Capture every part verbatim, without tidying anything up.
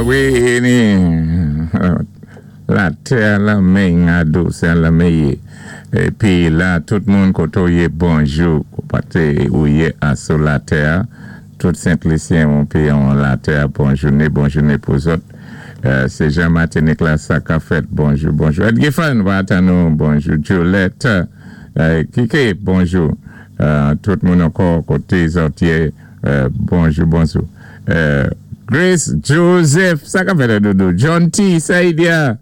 Wi, ni latè lan men adous lan men yé. Épi la, tout moun koto yé bonjou, paté ou yé asou latè, tout Sent-Lisyen ou pi an latè, bon jouné, bon jouné pou zòt. Sé Jean Martinique la, sa ka fèt, bonjou, bonjou. Ed Giffen, wata nou, bonjou. Juliette, Kike, bonjou. Tout moun ankò koté zòt yé, bonjou, bonjou. Grace Joseph, sa ka fèt doudou. John T. Saïdia,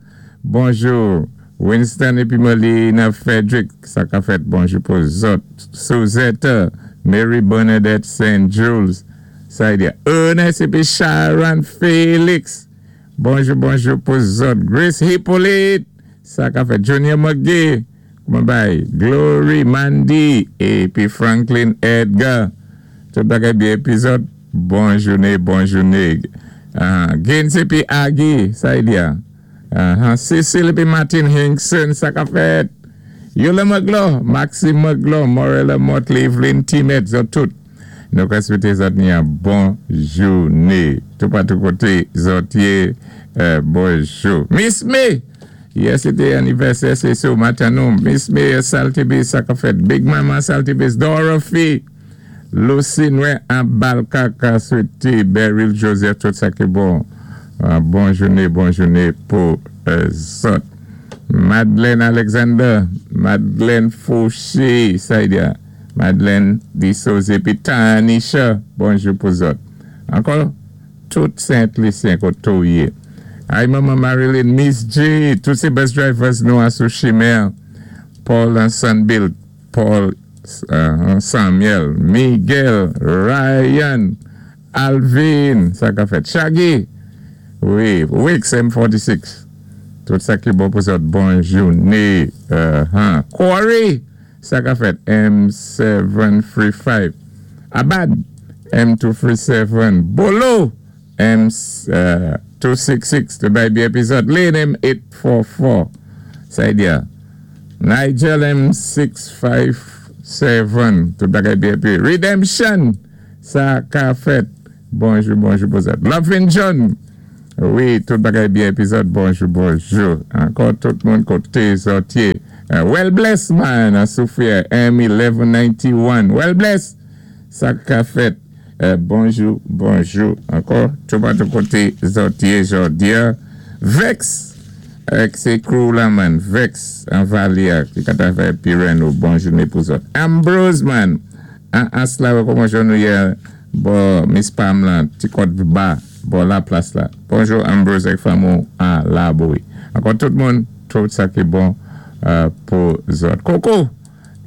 bonjou. Winston épi Molina Frederick, sa ka fèt, bonjou pou zòt. Suzette, Mary Bernadette Saint Jules, Saïdia. Ernest épi Sharon Félix, bonjou, bonjou pou zòt. Grace Hippolyte, sa ka fèt. Junior McGee, kouman bay. Glory Mandy, épi Franklin Edgar. Tout bagay byen épi zòt. Bon jouné, bon jouné. Uh, Gaines épi Aggie, Saïdia. Uh, Cecil épi Martin Hinkson, sa ka fèt. Yola Maglo, Maxime Maglo, Morella Motley, Evelyn Timet, zòt tout. Nou ka swété zòt ni an bon jouné. Tout patou koté zòt yé, euh, bonjou. Miss May, yè sé té anivèsè, sé sou maten nou. Miss May, Saltibis, sa ka fèt. Big Mama Saltibis, Dorothy, Lucy Noé, an Balka, ka swété Beryl Joseph, tout sa ki bon. Uh, bon jouné, bon jouné pou euh, zòt. Madeleine Alexander, Madeleine Fauché, Saïdia, Madeleine Dissose, épi Tanisha, bonjou pou zòt. Ankò, tout Sent-Lisyen koto yé. Ay, Maman Marilyn, Miss J, tout sé bus drivers nou asou chimen, Paul and Sunbill, Paul uh, Samuel, Miguel, Ryan, Alvin, sa ka fèt, Shaggy, wi, Wix M forty-six. Tout sa ki bon pou zòt, bon jouné. Uh -huh. Corey, sa ka fèt, M seven three five. Abad, M two three seven. Bolo, M two six six. Tout bay byen épi zòt. Lane M eight four four. Sa y Nigel M six five seven. Tout bagay byen épi. Redemption, sa ka fèt. Bonjou, bonjou pou zòt. Lovin John. Wi, tout bagay byen épi zòt. Bonjou, bonjou. Ankò tout moun koté zòt yé. Uh, well blessed man, Sophia M eleven ninety-one. Well blessed. Sa ka fèt. Uh, bonjou, bonjou. Ankò, tout patou koté zòt yé jòdi a. Vex, ak sé crew la man. Vex, an Valia, ki ka ta fè Pireno. Bon jouné pou zòt. Ambrose man. An asla, kouman jan nou yé, bon, Miss Pam lan, ti kòt ba, bon la plas la. Bonjou Ambrose ak fanmi a la boy. Ankò tout moun, tout sa ki bon uh, pou zòt. Coco,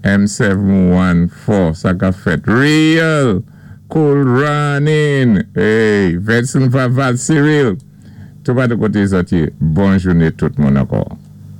M seven one four, sa ka fèt. Real, Cool Running, hey, Vincent Vaval, Cyril, tout patou koté zòt yé. Bon jouné tout moun ankò.